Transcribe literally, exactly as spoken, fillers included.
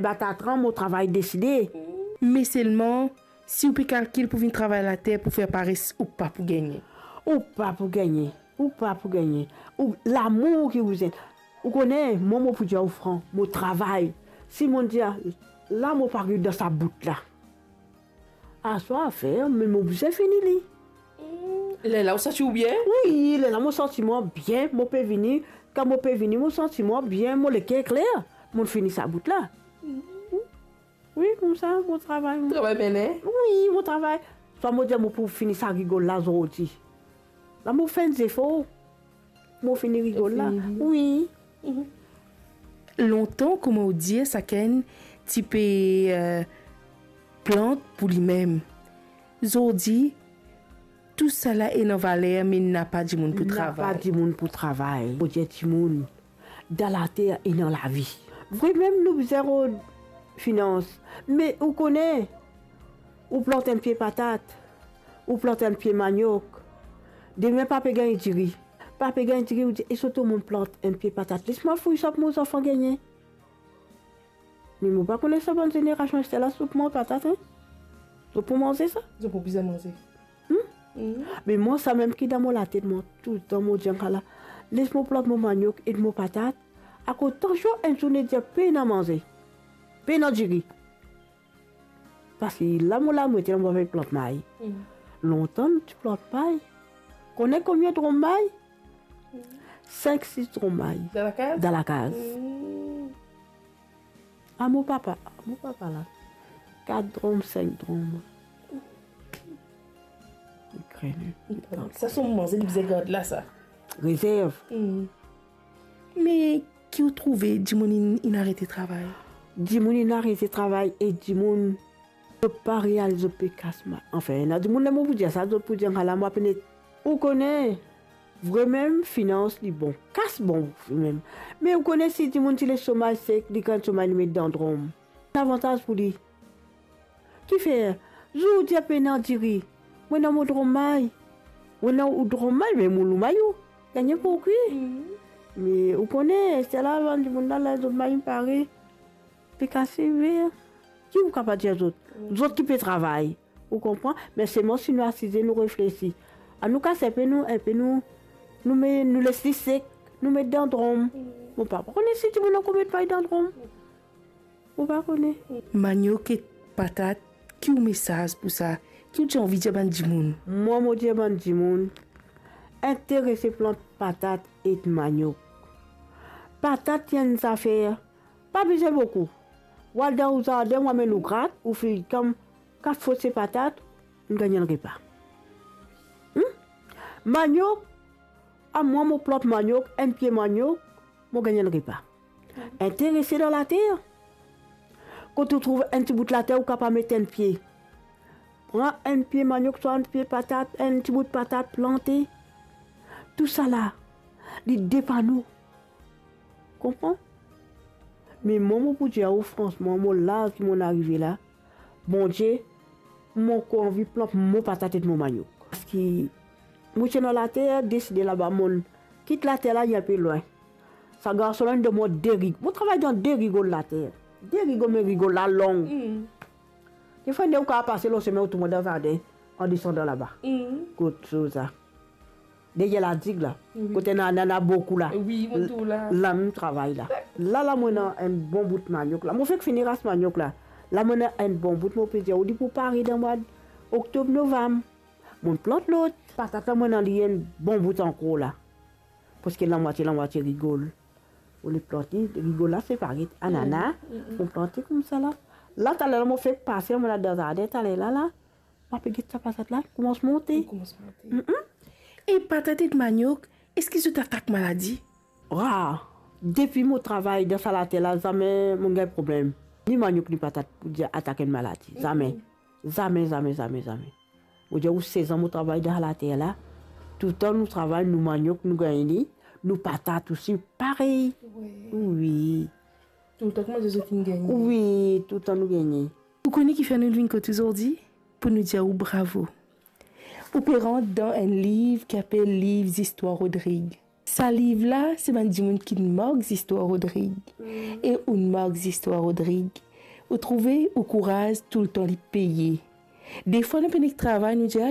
Ba ta tran mo travay deside. Me selman, si ou pe kalkil pou vinn travay later pou fer pares, ou pa pou gagne. Ou pa pou gagne. Ou pa pou gagne. Ou, lamour ki ou bizin. Ou kone, mwa, mo pou dir ou fran, mo travay. Si mo dir, la, mo pa ariv dan sa bout la. Aswar fer, me mo bizin fini li. Lerla ou santi ou bien? Wi, lerla mo santi mwa bien, mo pe vini. Kan mo pe vini, mo santi mwa bien, mo leker kler. Mo fini sa bout la. Wi, koumsa, mo travay. Travay mene? Wi, mo travay. Swa mo dir mo pou fini sa rigol la zordi. La, mo fer enn zefor. Mo fini rigol la. Fini. Wi. Lontan, kouma ou dir, sakenn ti pe, eh, plant pou limem. Zordi, tousala ena valer, me napa dimoun pou travay. Napa dimoun pou travay. Mo dir dimoun, dan later ena lavi. Vremem, nou bizin rod finans. Me ou kone, ou plant enn pie patat, ou plant enn pie maniok, demin pa pe gagn diri. Pa pe gagn diri, ou dir, e so to mo plant enn pie patat. Les mwa fouy sa pou mo zanfan gagne. Me mo pa kone sa bann zenerasion aster la, zot pou manz patat, en? Zot pou manze sa? Zot pou bizin manze. Hmm? Me mwa, samem ki dan mo latet, mwa, toultan mo dir, ala, les mo plant mo maniok ek mo patat, akoz tansion enn zourne dir pena manze, pena diri. Parski la mo la, mo ete la, mo pe plant may. Lontan nou ti plant may. Kone konbien drom may? Sink, sis drom may. Dan lakaz? Dan lakaz. A mo papa, a mo papa la, kat drom, sink drom. Li krene. Sa so manze li bizin gard la sa. Rezerv. Me ki ou trouve dimoun inn, inn arete travay? Dimoun inn arete travay e dimoun zot pa realiz zot pe kas ma-, anfin, ena dimoun, ler mo pou dir sa, zot pou dir, ala, mo apene. Ou kone, vremem, finans li bon, kas bon vremem. Me ou kone, si dimoun ti les so may sek, li gagn so may, li met dan drom. Lavantaz pou li. Kifer, zour ou dir pena diri, mo ena mo drom may. Mo ena ou drom may, me mo lou may ou gagne pou kwi. Me ou kone, se la bann dimoun la, ler zot may pare, pe kase ver. Ki ou kapav dir zot? Zot ki pe travay. Ou konpran? Me selman si nou asize, nou reflesi. Anou kas enpe nou, enpe nou, nou me, nou les li sek, nou met dan drom. Mo pa kone si dimoun ankor met may dan drom. Mo pa kone. Maniok ek patat, ki ou mesaz pou sa? Ki ou ti anvi dir bann dimoun? Mwa, mo dir bann dimoun, interese plant patat ek maniok. Patat, ti enn zafer, pa bizin boukou. Ou al dan ou zardin, ou amenn ou grat, ou finn kann kat fot se patat, ou gagn enn repa. Hmm? Maniok, a mwa, mo plant maniok, enn pie maniok, mo gagn enn repa. Interese dan later. Kot ou trouv enn ti bout later, ou kapav met enn pie. Pran enn pie maniok, swa enn pie patat, enn ti bout patat, plante. Tousala, li depann ou. Konpran? Me mwa, mo pou dir ou fransman, mo laz ki mo arive la, Bondie, mo ankor anvi plant mo patat ek mo maniok. Parski mo ti ena later, deside laba, mo kit later la, li enpe lwin. Sa garson la inn donn mwa de rig-, mo travay dan de rigol later. De rigol, me rigol la long. Defwa, ou kapav pase lor semin, ou tourn dan zardin, an desandan laba. Kot sa, deryer ladig la, kot ena, ena, ena boukou la. Wi, mo trouv la. La mo travay la. La, la mo ena enn bon bout maniok la. Mo fek fini ras maniok la. La mo ena enn bon bout, mo pe dir ou, li pou pare dan mwa oktob, novam. Mo plant lot. Patat la, mo ena li enn bon bout ankor la. Parski lamwatie, lamwatie rigol. Mo le plante rigol la, se paret anana. Mo plante koumsa la. La, taler la, mo fek pase, mo la dan zardin, taler la, la. Mo pe get sa patat la, koumans monte. Koumans monte. E patat ek maniok, eski zot atak maladi? Wa, depi mo travay dan sa later la, zame mo gagn problem. Ni maniok, ni patat pou dir atak enn maladi. Zame. Zame, zame, zame, zame. Mo dir ou, sez an mo travay dan later la, toultan nou travay, nou maniok, nou gagn li, nou patat osi, parey. Wi. Toultan, kouma zot inn gagne? Wi, toultan nou gagne. Ou kone kifer nou vinn kot ou zordi? Pou nou dir ou bravo. Ou pe rant dan enn liv ki apel Liv Zistwar Rodrig. Sa liv la, se bann dimoun ki mark zistwar Rodrig. E ou mark zistwar Rodrig, Ou trouve ou kouraz toultan li peye. Defwa nou pe nek travay, nou dir, "Ah,